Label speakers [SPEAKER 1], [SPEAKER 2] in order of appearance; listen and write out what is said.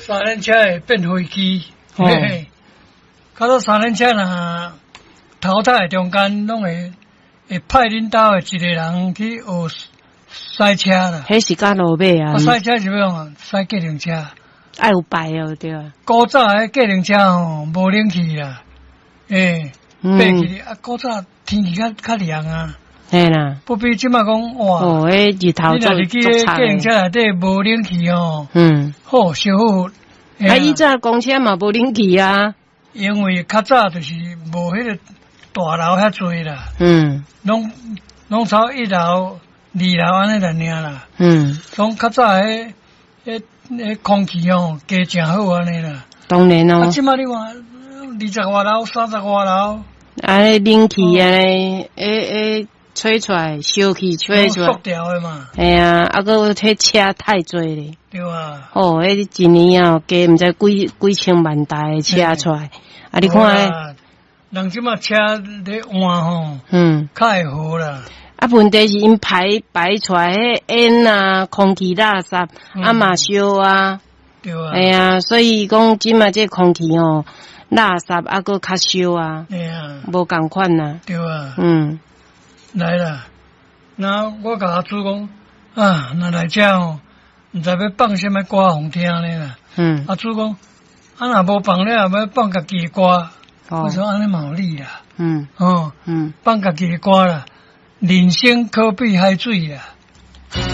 [SPEAKER 1] 三輪車會變飛機。嘿嘿，較早三輪車若淘汰的中間，攏會派恁兜的一個人去學駛車啦。
[SPEAKER 2] 彼是較落尾啊。
[SPEAKER 1] 啊，駛車是欲創啊？駛計程車。
[SPEAKER 2] 愛有牌哦，對啊。
[SPEAKER 1] 古早的計程車吼，無冷氣啦，欸，爬起啊，古早天氣較較涼啊。
[SPEAKER 2] 嘿啦。
[SPEAKER 1] 不比這馬講哇。
[SPEAKER 2] 哦，彼日頭
[SPEAKER 1] 你若是去計程車內底無冷氣吼，好燒好。
[SPEAKER 2] 啊，以前公車嘛無冷氣啊。
[SPEAKER 1] 因為較早就是無彼個大樓遐濟啦。攏攏差一樓、二樓按呢爾啦。攏較早彼彼彼空氣吼，加誠好按呢啦。
[SPEAKER 2] 當然咯。
[SPEAKER 1] 啊，這馬你看，二十外樓、三十外樓。
[SPEAKER 2] 啊，冷氣按呢，會會吹出來，燒氣吹出來。
[SPEAKER 1] 塑料的嘛。
[SPEAKER 2] 嘿啊，啊，閣彼車太濟咧。
[SPEAKER 1] 對啊。
[SPEAKER 2] 哦，彼一年哦，加毋知幾幾千萬台的車出來。啊，你看。
[SPEAKER 1] 人這馬車咧換吼，較會好啦。
[SPEAKER 2] 啊，問題是𪜶排排出來彼煙啊，空氣垃圾，啊嘛燒啊。
[SPEAKER 1] 對啊。
[SPEAKER 2] 嘿啊，所以講這馬這空氣吼，垃圾啊，閣較燒啊。
[SPEAKER 1] 嘿啊。
[SPEAKER 2] 無仝款啊。
[SPEAKER 1] 對啊。來啦，那我共阿祖講啊，若來遮吼，毋知欲放啥物歌予聽呢啦。阿祖講，啊若無放了，欲放家己的歌。我說按呢嘛有理啦。哦。放家己的歌啦，人生可比海水啦。